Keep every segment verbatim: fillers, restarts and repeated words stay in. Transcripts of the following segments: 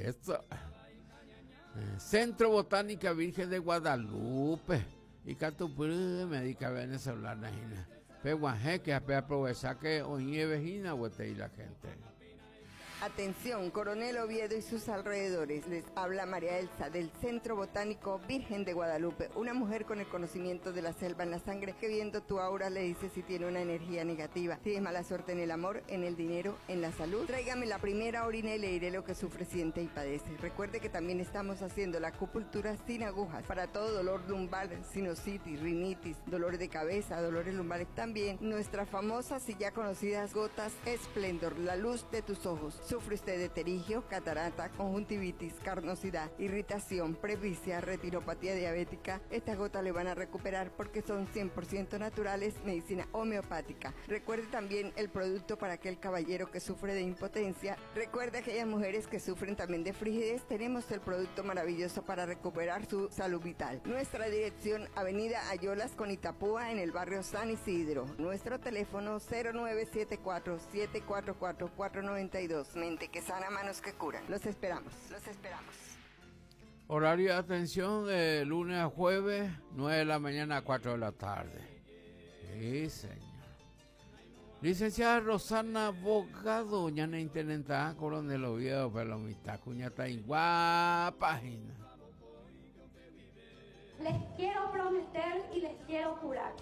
Eso. Centro Botánica Virgen de Guadalupe. Y Catupri, médica venezolana. Peguajé que aprovechar que hoy es vecina, y la gente. Atención, Coronel Oviedo y sus alrededores. Les habla María Elsa del Centro Botánico Virgen de Guadalupe, una mujer con el conocimiento de la selva en la sangre que viendo tu aura le dice si tiene una energía negativa, si es mala suerte en el amor, en el dinero, en la salud. Tráigame la primera orina y le diré lo que sufre, siente y padece. Recuerde que también estamos haciendo la acupuntura sin agujas para todo dolor lumbar, sinusitis, rinitis, dolor de cabeza, dolores lumbares. También nuestras famosas y ya conocidas gotas Esplendor, la luz de tus ojos. Sufre usted de pterigio, catarata, conjuntivitis, carnosidad, irritación, presbicia, retinopatía diabética. Estas gotas le van a recuperar porque son cien por ciento naturales, medicina homeopática. Recuerde también el producto para aquel caballero que sufre de impotencia. Recuerde aquellas mujeres que sufren también de frigidez. Tenemos el producto maravilloso para recuperar su salud vital. Nuestra dirección, Avenida Ayolas con Itapúa, en el barrio San Isidro. Nuestro teléfono cero nueve siete cuatro, siete cuatro cuatro, cuatro nueve dos. Mente que sana, manos que curan. Los esperamos, los esperamos. Horario de atención de lunes a jueves, nueve de la mañana a cuatro de la tarde. Sí, señor. Licenciada Rosana Bogado, ñana intendenta, Coronel Oviedo, pero mitad cuñata y guapa. Les quiero prometer y les quiero jurar.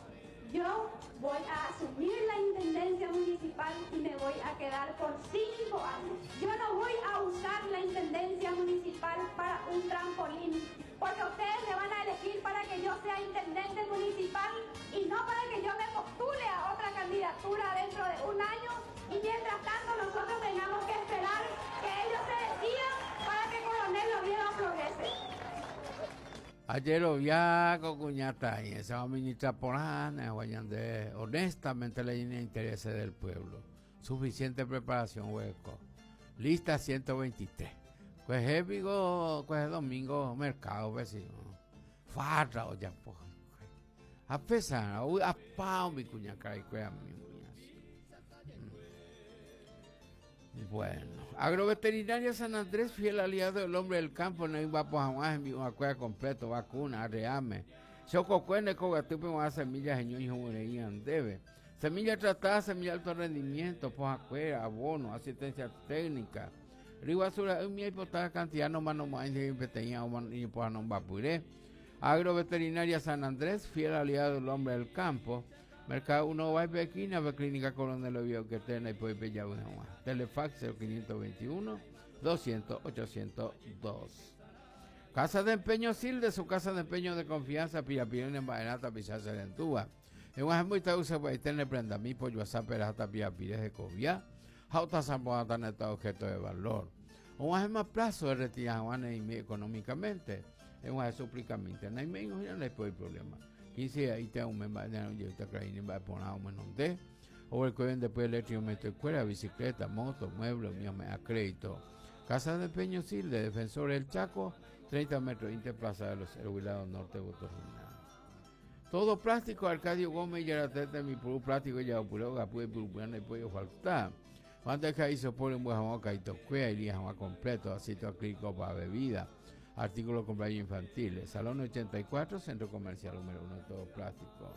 Yo voy a asumir la intendencia municipal y me voy a quedar por cinco años. Yo no voy a usar la intendencia municipal para un trampolín, porque ustedes me van a elegir para que yo sea intendente municipal y no para que yo me postule a otra candidatura dentro de un año y mientras tanto nosotros tengamos que esperar que ellos se decidan para que Coronel Oviedo progrese. Ayer lo vi con cuñata y esa ministra Polana, de honestamente le llena intereses del pueblo. Suficiente preparación, hueco. Lista ciento veintitrés. Pues es vigo, pues es domingo, mercado, vecino. Farra o ya, pues. A pesar, a pao mi cuñaca y cuea mi uñas. Bueno, Agroveterinaria San Andrés, fiel aliado del hombre del campo, no iba por jamás en mi cueva completo, vacuna, arreame. Chococuene, cogatupe, más semillas, señor y juguerían, debe. Semilla tratada, semilla de alto rendimiento, pojacuera, abono, asistencia técnica. Riguazura, un mi potada cantidad, no más, no más, ni pojanomba puré. Agroveterinaria San Andrés, fiel aliado del hombre del campo. Mercado uno va a esquina, ve Clínica Coronel Oviedo que tiene y puede pillar una más. Telefax cero quinientos veintiuno, doscientos, ochocientos dos. Casa de Empeño Silde, su casa de empeño de confianza, Pirapirón en Baenata, Pichaza de Entúa. En Guajamuita usa para tener prenda mi pollo a perata Pirapires de Cobia. Jauta Zamboata neta objeto de valor. Un más plazo de retirar Juan y económicamente. En un súplicamente. No hay menos, no hay problema. quince ahí te un mes de yo te creí va a poner un menos de o el que vende después electro escuela, bicicleta, moto, muebles, mío me a crédito. Casa de Empeño Silde, Defensor del Chaco, treinta metros, Interplaza de los Huilado Norte, Botosina. Todo plástico, Arcadio Gómez y Yaratete, mi puro plástico, ya puro, gapu, puro, no puede faltar. Cuando es que hizo por un buen jamón, caito, cuea y jamón completo, aceite acrílico para bebida. Artículos cumpleaños infantiles. Salón ochenta y cuatro, Centro Comercial número uno, todo plástico.